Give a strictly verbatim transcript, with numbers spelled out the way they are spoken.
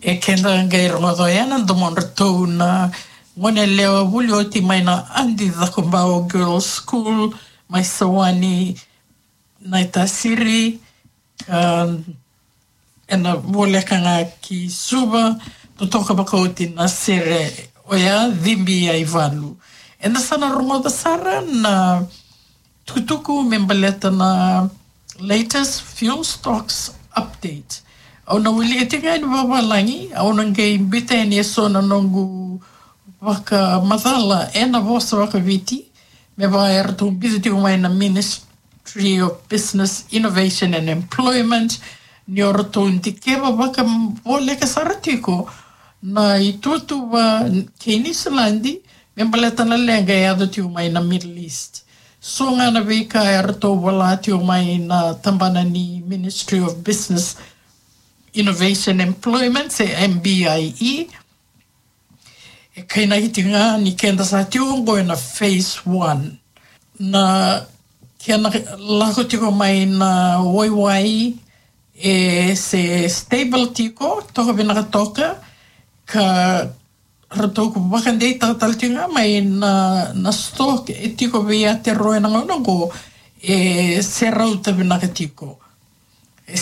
E keda qai rogoca oya na domodratou na gone yalewa vuli oti mai na Adi Cakobau Girls School mai Sawani, Naitasiri, ka ena voleka ga ki Suva, totoka vakaoti na sere oya, Cibi Yaivalu. Eda sa na rogoca sara na tukutuku me baleta na latest fuel stocks update. Au na wilika tiko ga yani vavalagi, au na qai biuta yani eso na noqu vakamacala ena vosa vakaViti, me vaka eratou biuta tiko mai na Ministry of Business, Innovation and Employment, ni o ratou dikeva vakavoleka sara tiko na itutuva kei Niusiladi me baleta na leqa e yaco tiko mai na Middle East. So ga na veika eratou vola tiko mai na tabana ni Ministry of Business, Innovation, Employment, se M B I E. E kainaki tiko ga ni keda sa tiko oqo ena phase one. Na kena lako tiko mai na waiwai e se stable tiko, toka vinaka toka, ka ratou vakadeitaka tale tiko ga mai na, na stock e tiko vei Aotearoa ena gauna oqo, e se rauta vinaka tiko.